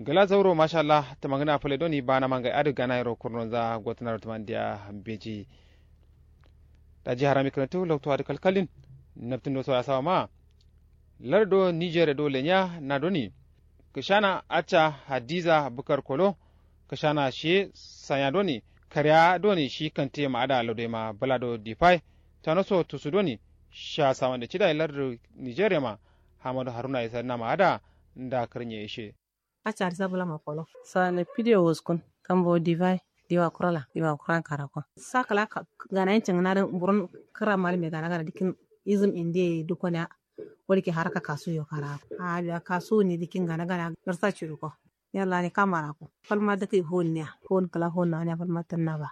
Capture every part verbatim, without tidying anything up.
Gla zauro mashallah tǝmangǝna fǝle doni bana mangai adǝ gana yero kurnonza gotǝnaro tǝmandiya. Beji. Daji harami kǝnǝtu loktu adǝ kalkalin. Nabtǝn do so yasawa ma. Lardo niger do lenya na doni. Kǝshana acca hadiza bukar kolo. Kǝshana shiye sanya doni. Kariya doni shi kante ma ada lodoi ma bǝla do difai. Tano so tusu doni. Sha sawande cidai lardo niger ma. Hamadu haruna isa nama ada. Nda kǝrnye ishe. Acca adǝ sabula ma kolo. Sane pidiyo wuskun. Kambo divai. Diwa kurala diwa kuran karako. Sakala ganayin cingǝna dǝ buron. Kǝra malime gana gana dikkin. Izǝm indiye dukoniya. Wulke haraka kasuyo karako. Ahh biya kasuwu ni dikkin gana gana. Nǝrsa cuduko. Yalla ni kamarako. Falma dǝkki fuwunniya fuwun kǝla fuwun naniya falma tǝnna ba.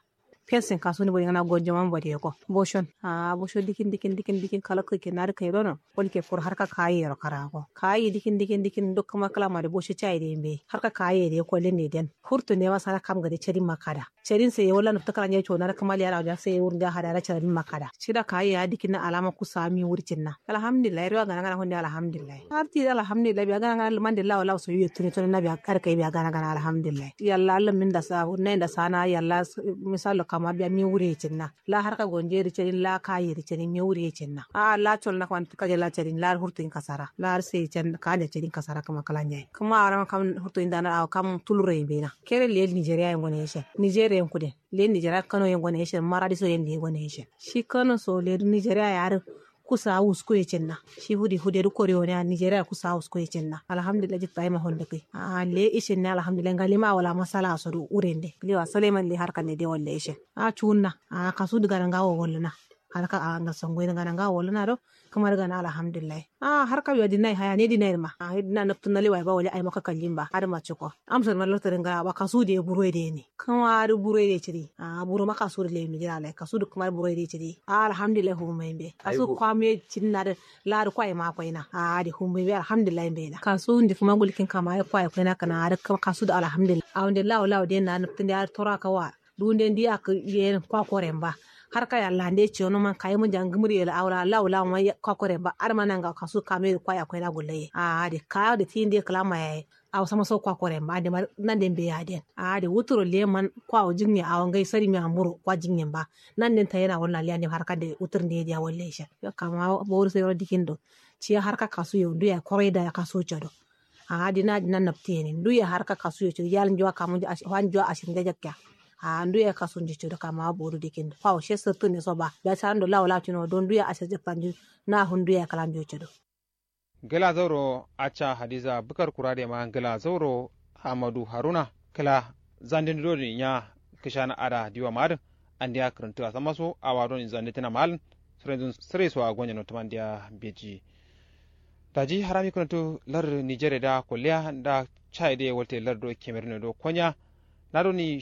Fesin kasu ni bodi ngana gonjo man bodi yeko boshon. Ahh bosho dikin dikin dikin dikin kala kǝkin nadǝ kai dono. Wulke kuru harka kayi yero karako kayi dikin dikin dikin duk kǝma kǝla madi bosho cayi dǝ yimbe harka kayi yero yeko lende den. Furtu nema sana kam gade cadin ma kada cadin sai ye walla nuftu kǝla nja ye cona dǝ kǝma liyana wunja sai ye wurunja hadana cadin ma kada cida kayi ya dikin na alama kusa mi wurcin na. Alhamdulillahi riwa gana gana hunde alhamdulillahi. Har ti alhamdulillahi biya gana gana lumande lawo lawo so yuye tuni tuni na biya kar kai biya gana gana alhamdulillahi yalla allam min da sa hunde da sana yalla. Misallo kama biya mi wure cinna. La harka gonje ri cedin la kayi ri cedin mi wure cinna a la col na kwan kaje la cedin la hurtu in kasara la har sai can kaje cedin kasara kama kala nyayi kama aram kam hurtu in dana awo kam tulure in bena. Kere le nigeria in gone yeshen nigeria in kude. Le nigeria kano in gone yeshen maradi so in le gone yeshen shi kano so le nigeria ya har. Kusa wusku ye cinna. Shi fudi fude duk kori wone a nigeria kusa wusku ye cinna alhamdulillah jitta ima honde kai. Ahh le ishin ne alhamdulillah ngalima wala masala so du urende klewa suleiman le harka ne de walla ishin. Ahh cuwunna. Ahh kasu du gana ngawo walluna. Harka ahh ngal songoyi du gana ngawo walluna do. Kǝma du gana alhamdulillah. Ahh harka biya dinai haya ne dinai dǝ ma ahh dina nabtǝ nalewa ye ba wali aima kakallin ba adǝ ma cuko. Amsor ma lartǝ dǝ ngala ba kasu du ye buro ye dǝ yeni. Kǝma dǝ buro ye dǝ ye cidi ahh buro ma kasu dǝ leyi nujina lai kasu dǝ kǝma dǝ buro ye dǝ ye cidi. Ahh alhamdulillah fuwun ma yimbe kasu kwamu ye cidina dǝ. Ladu kwai ma koina ahh dǝ fuwun ma yimbe alhamdulillah yimbe na kasu ndi kǝma gulkin kama ye kwai koina kǝna adǝ kasu dǝ alhamdulillah awunde lawo lawo dǝ ye na nabtǝ nde adǝ tora kawa. Duwunde ndi yakkǝ yen kwa koren ba. Har kaya lande ciyono man kayi mǝnja ngǝmǝri ye la awo la lawo lawo man kwa koren ba adǝ ma nanga kasu kame dǝ kwa yakoyi na gulloye ahh adǝ kawo dǝ ti nde kǝla ma yaye. Awo sama so kwa koren ba ande ma nande mbeyi aden ahh adǝ wuturo leman kwa wo jinye awo ngai sari me amburo kwa jinyen ba. Nande nta yena walla lande har kande wutur nde diya walla ishen yo kama bowur sai ro dikin do. Ciya har ka kasu yo ndu yayi koro ye daya kasu codo. Ahh dina dina nabti yeni nduye harka kasu yo codo yal njuwa kamu njuwa ashir nja jakkiya. Ahh nduye kasu nji codo kamawa bodu dikin fawo she sirtǝ ne so ba biya carando lawo lawo cino do nduye ashir jakkiya nju. Na fu nduye kala njuwa codo. Ngla zauro acca hadiza bukar kura de ma ngla zauro. Hamadu haruna kla zandin doni nya kǝshana ada diwa ma adǝ. Andiya kǝrǝntǝ asamma so awa doni zanditǝna ma alǝn. Sǝrenzu sǝre so a gonye no tǝmandiya beji. Daji harami kǝnǝtu lardǝ nigeria da kolliya nda. Cayi dǝ ye walte lardǝ do kemerun ye do konya. Na doni